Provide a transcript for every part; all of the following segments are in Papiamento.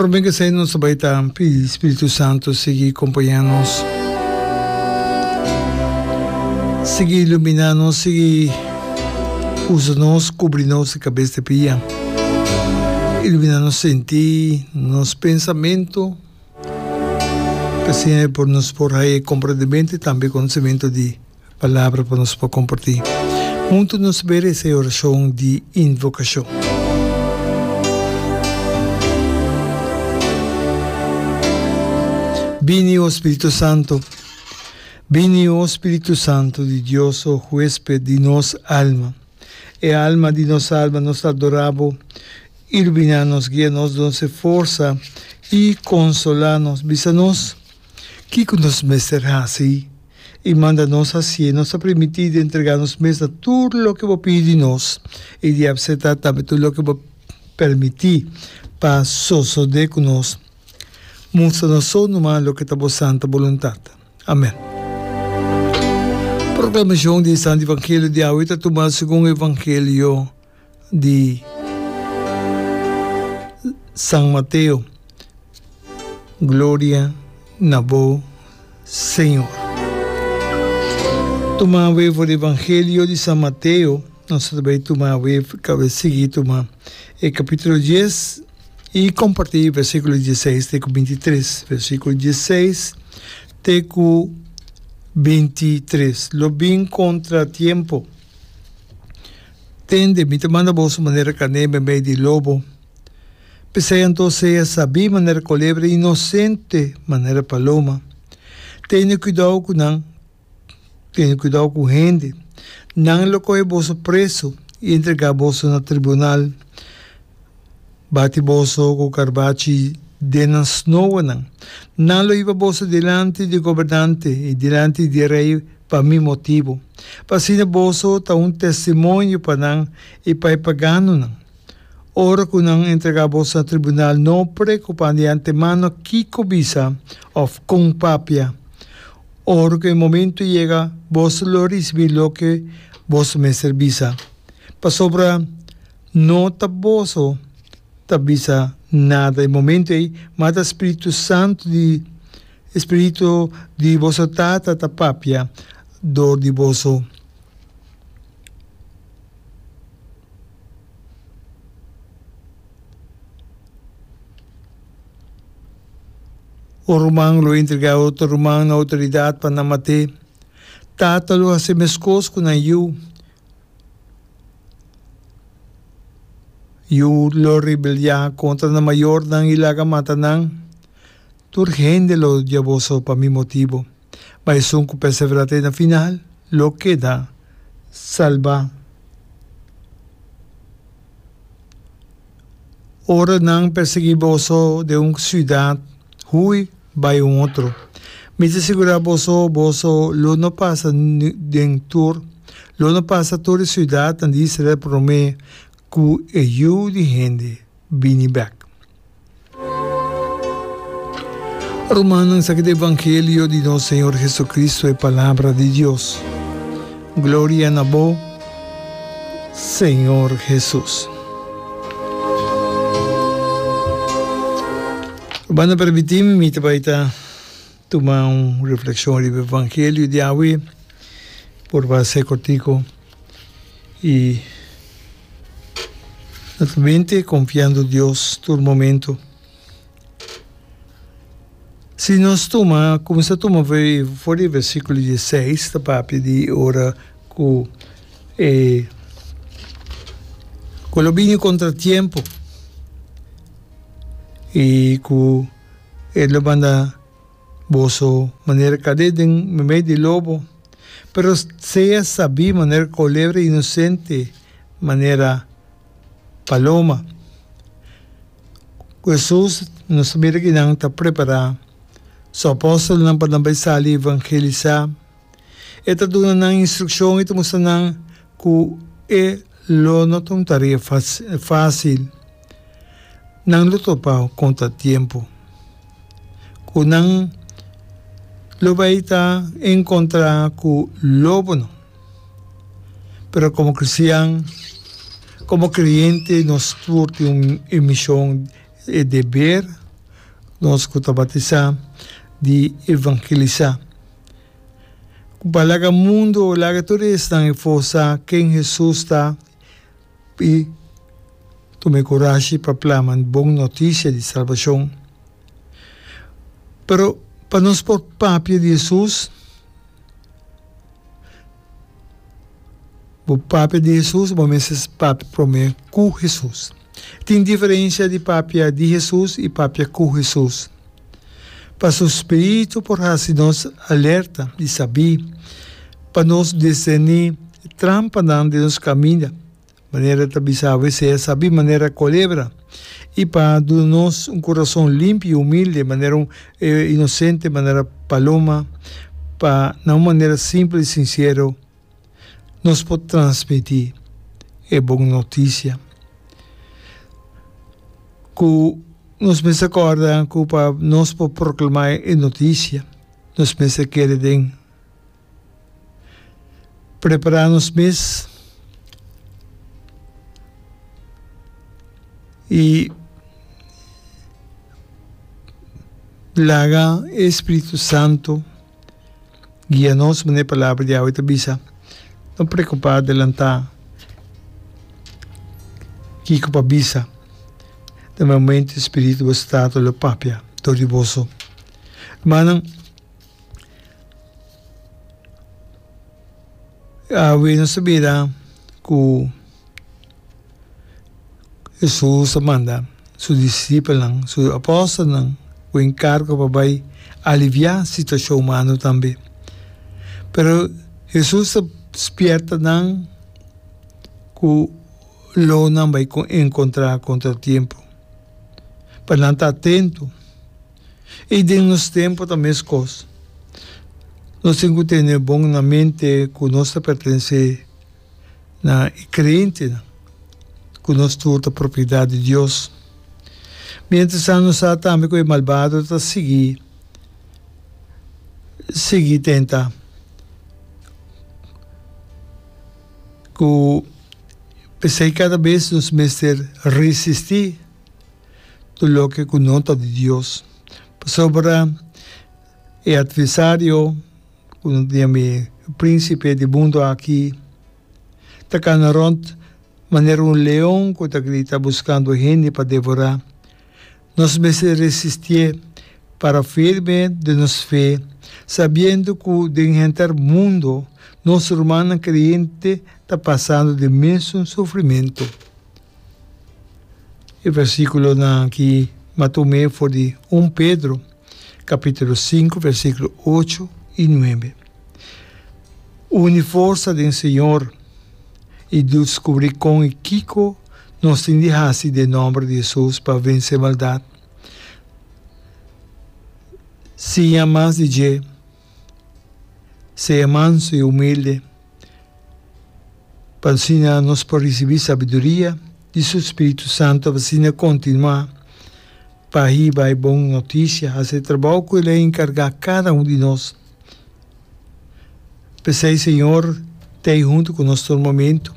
Prome ku esei nos ta bai ta pidi Spiritu Santu sigui kompañá nos, sigui iluminá nos, sigui usa nos, kubri nos di kabes te pia, iluminá nos sentí, nos pensamentu, pa asina por nos por haña e komprendementu i tambe konosementu di. Palabra pa nos por kompartí. Huntu nos bere esei orashon di invokashon. Bini, o Spiritu Santu, bini, o Spiritu Santu di Dios, o huesped di nos alma, e alma di nos alma, nos ta adorá Bo, iluminá nos, guia nos, duna nos e forsa i konsolá nos. Bisa nos kiko nos mester hasi. i manda nos hasié. Nos ta primintí di entregá nos mes na tur loke bo pidi di nos i di apseptá tambe tur loke bo permití pa sosodé ku nos. Mustra nos so numa loke ta bo santa boluntat. Amèn. Proklamashon di e Santu Evangelio di awe ta tumá segun Evangelio di San Mateo. Gloria na bo, Señor. Tuma awe for di Evangelio di San Mateo, nos ta bai tuma awe, kabe sigui tuma e kapítulo dies i kompartí versíkulo dieseis te ku bintitres. Versíkulo dieseis te ku bintitres. Lo bin kontratiempo. Tende, mi ta manda boso manera karné meimei di lobo. P'esei anto sea sabí manera kolebra i inosente manera paloma. Tene kuidou ku nan, tene kuidou ku hende. Nan lo kohe boso preso i entregá boso na tribunal, bati boso ku karbachi den nan snoanan. Nan lo hiba boso dilanti di gobernante i dilanti di rei pa mi motibu, pa asina boso ta un testimonio pa nan i pa e paganonan. Ora ku nan entregá boso na tribunal, no preokupá di antemano kiko bisa òf kon papia. Ora ku e momentu yega, boso lo risibí loke boso mester bisa, pasobra no ta boso ta bisa nada e momentu ei, ma ta spiritu santu di e spiritu di boso Tata ta papia dor di boso. Un ruman lo entregá otro ruman na outoridat pa nan mat'é. Tata lo hasi meskos ku nan yu. Yu lo rebeliá kontra nan mayornan i laga mata nan. Tur hende lo odia boso pa mi motibu. Ma esun ku perseverá te na final lo keda salbá. Ora nan persiguí boso den un siudat, hui bai un otro. Mi ta sigurá boso, boso lo no pasa den tur, lo no pasa tur e siudatnan di Israel promé ku e Yu di hende bini bèk. Rumannan, esaki ta evangelio di nos Señor Jesucristo, e palabra di Dios. Gloria na bo, Señor Jesus. Rumannan, permití mi, mi ta bai ta tuma un reflexion riba evangelio di awe, por ba ser cortico. I naturalmente konfiando Dios tur momento. Si nos tuma, kuminsá tuma for di versíkulo dieseis ta papia di ora ku e ku lo bini kontratiempo i ku e lo manda Boso manera kade den meimei di lobo, pero sea sabí manera kolebra i inosente manera paloma. Ku Hesus nos ta mira ki nan ta prepará su apòstelnan pa nan bai sali evangelisá. E ta duna nan instrukshon i ta mustra nan ku e lo no ta un tarea fásil. Nan lo topa kontratiempo ku nan lo bai ta enkontrá ku lobonan. Pero komo kristian, komo kreyente nos tur tin un mishon, e deber. Nos ku ta batisá di evangelisá. Ku pa laga mundu laga tur esnan efo sa ken Hesus ta i tuma e kurashi pa plama bon notisia di salbashon. Pero pa nos por papia di Hesus, Bo papia di Hesus, bo mester papia promé ku Hesus. Tin diferensia di papia di Hesus i papia ku Hesus. Pa su spiritu por hasi nos alerta i sabí pa nos diserní trampanan den nos kaminda. Manera ta bisa awe sea sabí manera kolebra i pa duna nos un kurason limpi i humilde manera un inosente manera paloma pa na un manera simpel i sinsero nos por transmití e bon notisia. Ku nos mester kòrda ku pa nos por proklamá e notisia nos mester kere den. Prepará nos mes i laga e Spiritu Santu guia nos manera e Palabra di awe ta bisa. No preokupá adelantá kiko pa bisa. Den momento e Spiritu boso Tata lo papia dor di boso. Hermannan. Awe nos ta mira ku Hesus a manda su disipelnan, su apòstelnan ku enkargo pa bai aliviá situashon humano tambe. Pero Hesus ta spièrta nan ku lo nan bai enkontrá kontratiempo, pa nan ta atento. I den nos tempu ta meskos. Nos tin ku tene bon na mente ku nos ta pertenesé na e kreyentenan, ku nos tur ta propiedat di Dios. Mientrastantu nos sa tambe ku e malbado ta sigui sigui tenta ku p'esei kada bes nos mester resistí. Tur loke ku no ta di Dios. Pasobra e atversario, ku no ta yama e prínsipe di mundu aki, ta kana rònt manera un leon ku ta grita buskando hende pa devorá. Nos mester resistié, para firme den nos fe, sabiendo ku den henter mundu nos rumannan kreyente ta pasando den mesun sufrimentu. E versíkulonan akí m'a tum'é for di un Pedro, kapítulo sinku, versíkulo ocho i nuebe. Uni forsa den Señor i deskubrí kon i kiko nos tin di hasi den nòmber di Hesus pa vense maldat. Siña mas di dje. Sea manso i humilde. Pa asina nos por risibí sabiduria di su spiritu santu pa asina kontinuá pa hiba e bon notisia, hasi e trabou ku el a enkargá kada un di nos. P'esei Señor ta ei huntu ku nos tur momentu.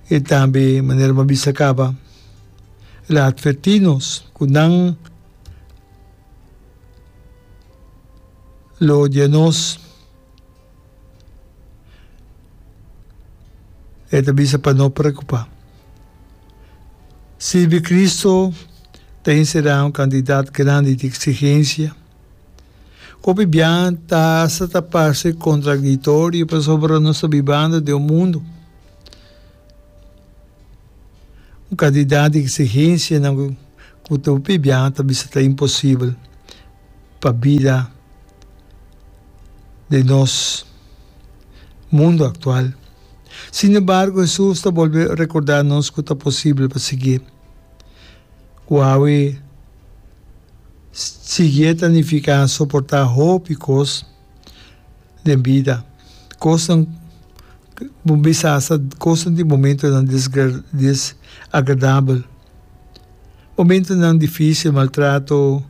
E tambe, manera mi a bisa kaba, el a atvertí nos ku nan lo odia nos. E ta bisa pa no preocupa. Sirbi Cristo ta encerá un cantidad grandi di exigencia. Hopi bia ta hasta ta parce contradictorio pasobra nos ta bibando den un mundo. Un cantidad di exigencianan cu hopi bia ta bisa ta imposibel pa bida. Den nos mundu aktual. Sin embargo, Hesus ta bolbe rekordá nos ku ta posibel pa siguié. Ku awe siguié ta nifiká soportá hopi kos den bida, kosnan bo bisa asta kosnan di momentonan desagradabel, momentonan difísil, maltrato,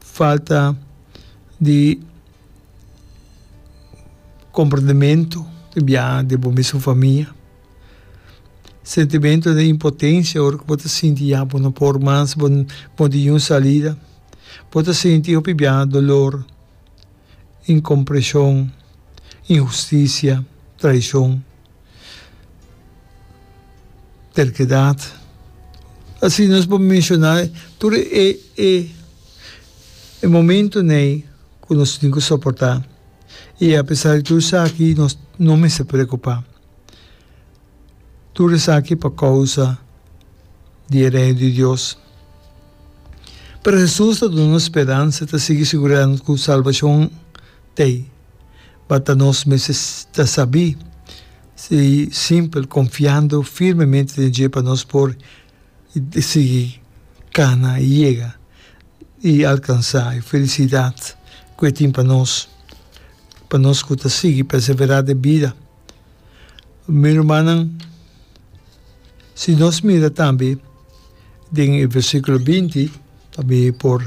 falta di komprendementu di biaha den bo mesun famia. Sentimento di impotencia ora cu bo ta sinti ya bo no por mas, bo no tin niun salida. Bo ta sinti hopi biaha dolor, incompresion, inhusticia, traicion, terkedad. Asina nos por menciona tur e e e momentonan ey cu nos tin cu soporta. Y apesar di tur esaki nos no mester preocupa. Tur esaki pa kousa di e Reino di Dios. Pero Hesus ta duna nos speransa, ta sigui sigurá nos ku salbashon t'ei. Bata nos mester ta sabí i simpel, konfiando firmemente den dje pa nos por sigui kana i yega i alkansá e felisidat ku e tin pa nos, pa nos ku ta sigui perseverá den bida. Mi rumannan, si nos mira tambe den e versíkulo binti, pa mi por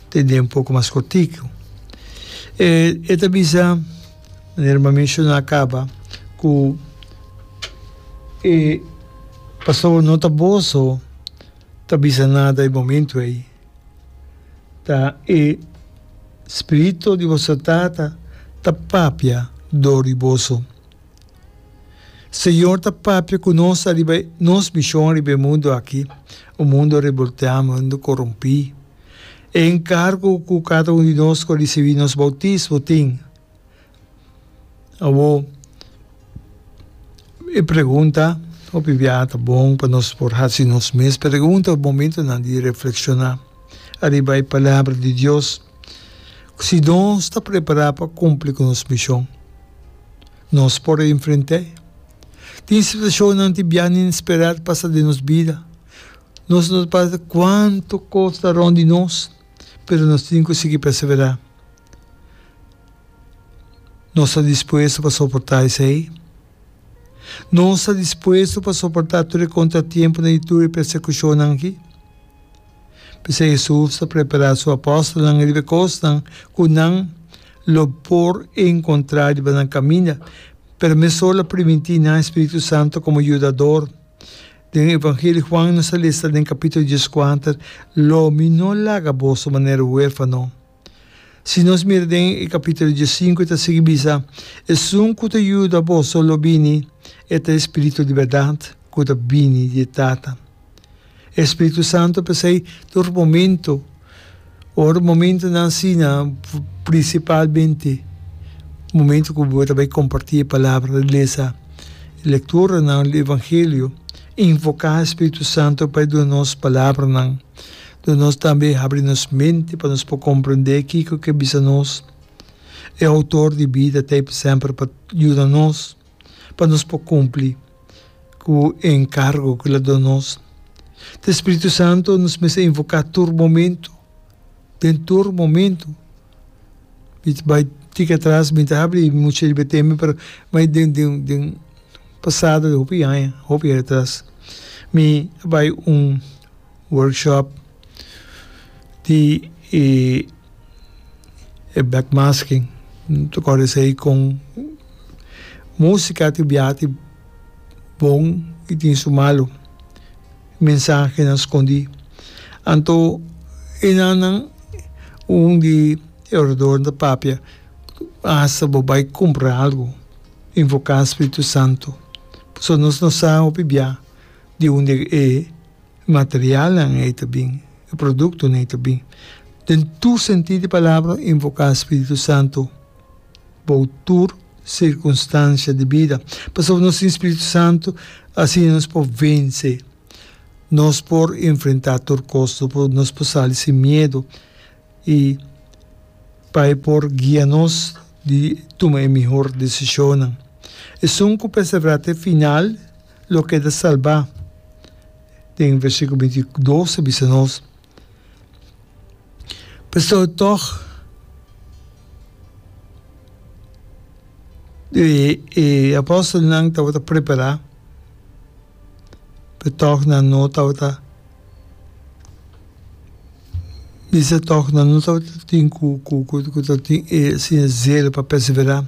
tende un poko mas kortiku, e e ta bisa, manera mi a menshoná kaba, ku e pasobra no ta boso ta bisa nada e momentu ei, ta e Spiritu di boso Tata ta papia dor di boso. Señor ta papia ku nos ariba nos mishon riba e mundu aki, un mundu rebolteá, un mundu korompí. E enkargo ku kada un di nos ku a risibí nos boutismo tin. Awor, e pregunta hopi biaha ta bon pa nos por hasi nos mes pregunta momentonan di reflekshoná ariba e Palabra di Dios. Si nos ta prepará pa kumpli ku nos mishon, nos por enfrent'é. Tin situashonnan tin biaha inesperá ta pasa den nos bida. Nos no ta pasa kuantu kos ta rònt di nos, pero nos tin ku sigui perseverá. Nos ta dispuesto pa soportá esei? Nos ta dispuesto pa soportá tur e kontratiemponan i tur e persekushonnan akí? P'esei Hesus ta prepará su apòstelnan riba e kosnan ku nan lo por enkontrá riba nan kaminda, pero mesora lo primintí nan e spiritu santu komo yudador. Den Evangelio di Huan nos ta lesa den kapítulo dieskuater, Lo mi no laga boso manera huérfano. Si nos mira den e capítulo diesinku e ta sigui bisa, Esun cu ta yuda boso lo bini, e ta e Spiritu di berdad cu ta bini di e Tata. E Spiritu Santo p'esei tur momento, ora momentonan asina, principalmente momento cu bo ta bay comparti e palabra, lesa lecturanan di Evangelio, invoca e Spiritu Santo pa e duna nos palabranan. Dor nos tambe habri nos mente pa nos por comprende kico ke bisa nos. E Autor di bida ta ei semper pa yuda nos pa nos por cumpli cu e encargo cu el a duna nos. Ta e Spiritu Santo nos mester invoca tur momento, den tur momento. Mi ta bai tika atras, mi ta habri mucho riba e tema, pero bai den den den pasado di hopi aña, hopi aña atras, mi a bai un Workshop di e e backmasking ta kòrda esei kon músika tin biaha tin bon i tin su malu mensahenan skondí anto enanan un di e oradornan ta papia asta bo bai kumpra algu invoká Spiritu Santu pasobra nos no sa hopi bia di unda e Materialnan ei ta bin, e produktonan ei ta bin. Den tur sentido di palabra, invoká Spiritu Santu bou tur sirkunstansia di bida. Pasobra nos tin Spiritu Santu, asina nos por vense. Nos por enfrentá tur kos, nos por sali sin miedu i pa e por guia nos di tuma e mihor desishonnan. Esun ku perseverá te final lo keda salbá. Den versíkulo 22 ta bisa nos, Pasobra tòg e e apòstelnan tabata prepará, pero tòg nan no tabata bisa tòg nan no tabata tin ku ku ku ta tin e asina zelo pa perseverá.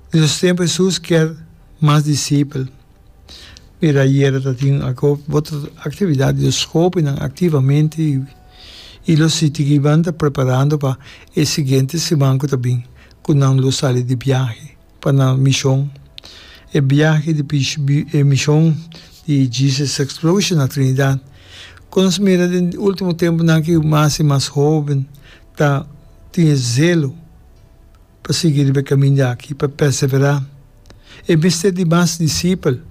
Den nos tempu Hesus kier mas disipel. Mira ayera ta tin otro actividad di nos hobennan activamente y lo siti kiban ta preparando pa e siguiente siman cu ta bin cu nan lo sali di biahe pa nan mision. E biahe di e mision di Jesus Explosion na Trinidad cu nos mira den ultimo temponan aki mas y mas hoben ta tin e zelo pa sigui riba e kaminda aki, pa perseverá. E mester di mas disipel.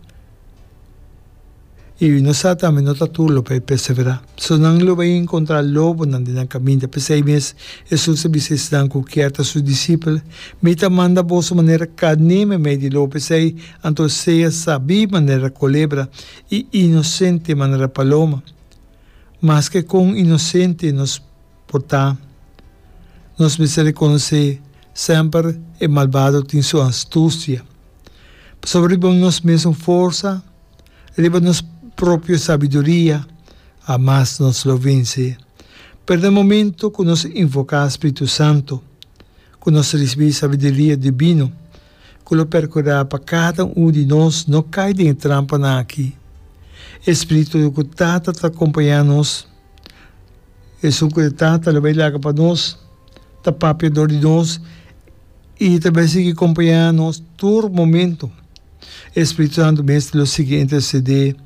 I nos sa tambe no ta tur lo bai perseverá. So nan lo bai enkontrá lobonan den nan kaminda. P'esei mes Hesus a bisa esnan ku kier ta su disipel, Mi ta manda boso manera karné meimei di lobo. P'esei anto sea sabí manera kolebra i inosente manera paloma. Maske kon inosente nos Por ta, nos mester rekonosé semper e malbado tin su astusia. Pasobra riba nos mesun forsa, riba nos propio sabiduria, hamas nos lo vense. Pero na momento ku nos invoká Spiritu Santu, ku nos risibí sabiduria dibino, ku lo perkurá pa kada un di nos no kai den e trampanan aki. E Spiritu ku Tata ta kompañá nos, Esun ku e Tata lo bai laga pa nos, ta papia dor di nos i ta bai sigui kompañá nos tur momento. E Spiritu Santu mes lo sigui intersedé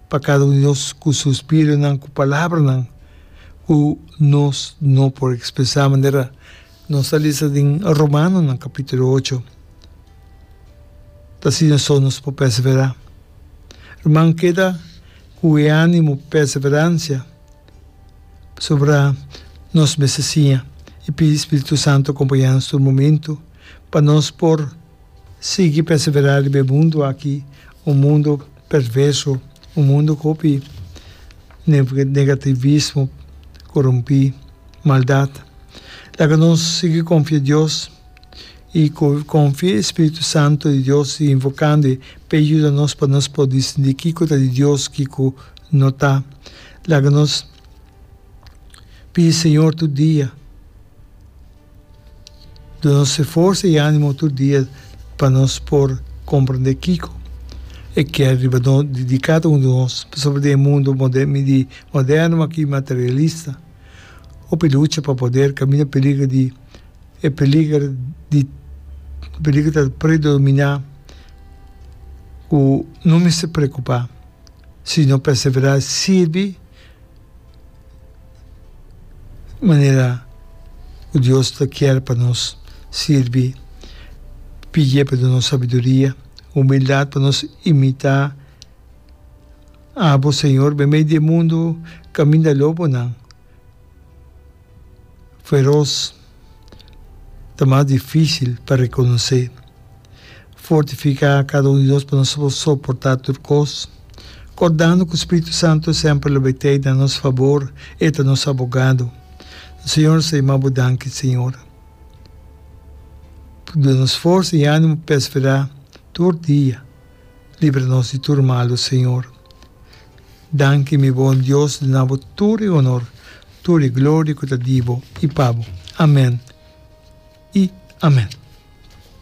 pa kada un di nos ku suspironan, ku palabranan ku nos no por ekspresá, manera nos ta lesa den Romanonan kapítulo ocho. Ta asina so nos por perseverá. Ruman, keda ku e ánimo perseveransia. Pasobra nos mester siña i pidi Spiritu Santu kompañá nos tur momentu pa nos por sigui perseverá riba e mundu aki, un mundu perverso, un mundu ku hopi negativismo, korumpí, maldat. Laga nos sigui konfia Dios i konfia e Spiritu Santu di Dios i invokando e pa e yuda nos pa nos por distinguí kiko ta di Dios, kiko no ta. Laga nos pidi Señor tur dia duna nos e forsa i animo tur dia pa nos por comprende kico e kier riba nos di cada un di nos pasobra den e mundo moderno aki materialista hopi lucha pa poder caminda peliger di e peliger di peliger ta predomina cu no mester preocupa. Si no perseverá sirbi manera ku Dios ta kier pa nos sirbi, pidié pa duna nos sabiduria, humildat pa nos imitá abo, Señor, meimei di e mundu kaminda lobonan. Feros ta mas difícil pa reconoce. Fortifica cada un di nos pa nos por soporta tur cos, cordando cu Spiritu Santo semper lo bay tey na nos fabor, E ta nos abogado. Señor, nos ta yama Bo danki, Señor. Duna nos forsa y animo pa persevera tur dia. Libra nos di tur malu, Señor. Danki, mi bon Dios, duna Bo tur e honor, tur e gloria cu ta di Bo y pa Bo. Amen y amen.